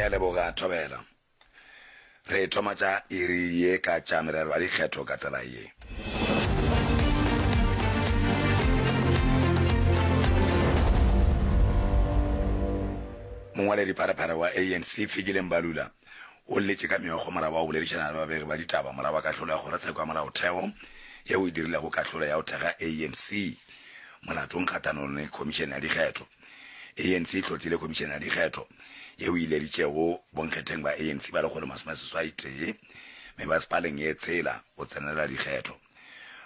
Ke a leboga, Thobela. Re thoma tša iri ye ka tša merero ya dikgetho ka tsela ye. Mongwaledi pharephare wa ANC, Fikile Mbalula, o lletše ka meokgo morago wa go boledišana le babegi ba ditaba morago ga kahlolo ya Kgorotsheko ya Molaotheo yeo e dirilego kahlolo ya go thekga ANC molatong kgahlanong le Khomišene ya Dikgetho. ANC e hlotlile Khomišene ya Dikgetho yeo e ileditšego bonkgetheng ba ANC ba 181 mebasepaleng ye tshela go tsenela dikgetho.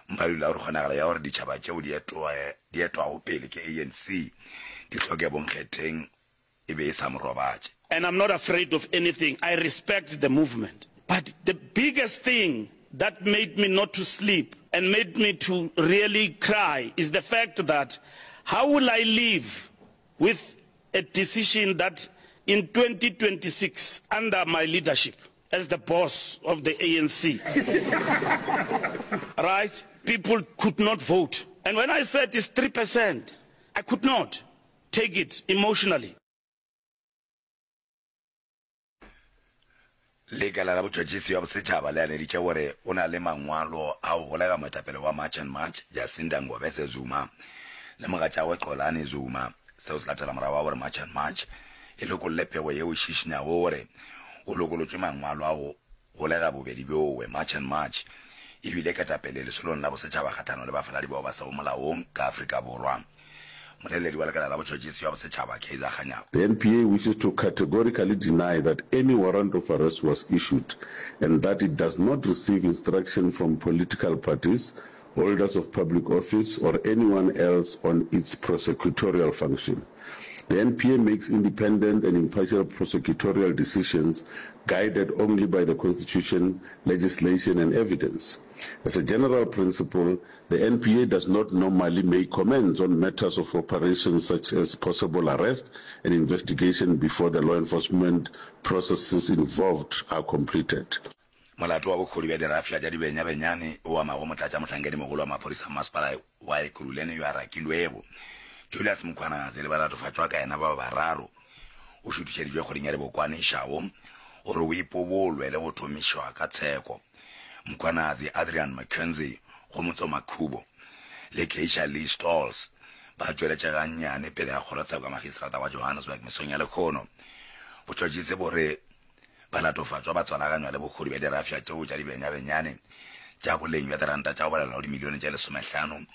Mbalula o re kgonagalo ya gore ditšhaba tšeo di etwago pele ke ANC di hloke bonkgetheng e be e sa mo robatše. And I'm not afraid of anything, I respect the movement. But the biggest thing that made me not to sleep and made me to really cry is the fact that how will I live with a decision that in 2026 under my leadership as the boss of the ANC, right, people could not vote. And when I said it's 3%, I could not take it emotionally. Lekala la Botšhotšhisi bja Bosetšhaba le aneditše gore o na le mangwalo a go golega moetapele wa March and March Jacinda Ngobese Zuma le mogatšagwe Xolani Zuma. Seo se latela morago ga gore March and March e lokolle pego yeo e šišinyago gore o lokolotšwe mangwalo a go golega bobedi bjowe. March and March e bile ketapele lesolong la bosetšhaba kgahlanong le bafaladi bao ba sego molaong ka Afrika Borwa. Moleledi wa Lekala la Botšhotšhisi bja Bosetšhaba, Kaizer Kganyago. The NPA wishes to categorically deny that any warrant of arrest was issued and that it does not receive instruction from political parties, holders of public office or anyone else on its prosecutorial function. The NPA makes independent and impartial prosecutorial decisions guided only by the Constitution, legislation and evidence. As a general principle, The NPA does not normally make comments on matters of operations such as possible arrest and investigation before the law enforcement processes involved are completed. Molato wa bohodu bja dirafša tša dibenyabenyane o amago motlatšamohlankedimogolo wa maphodisa a masepala wa Ekurhuleni yo a rakilwego, Julius Mkhwanazi le balatofatšwa ka yena ba bararo o šuthišeditšwe kgweding ya Dibokwane išago gore o ipobolwe le go thomišwa ka tsheko. Mkhwanazi, Adrian McKenzie, Kgomotso Makhubo le Keisha Lee Stolz ba tšweletše gannyane pele ga kgorotsheko ya magistrata wa Johannesburg mesong ya lehono. Botšhotšhisi bo re balatofatšwa ba tswalaganywa le bohodu bja dirafša tšeo tša dibenyabenyane tša boleng bja diranta tša go balelwa go dimilione tše lesomehlano.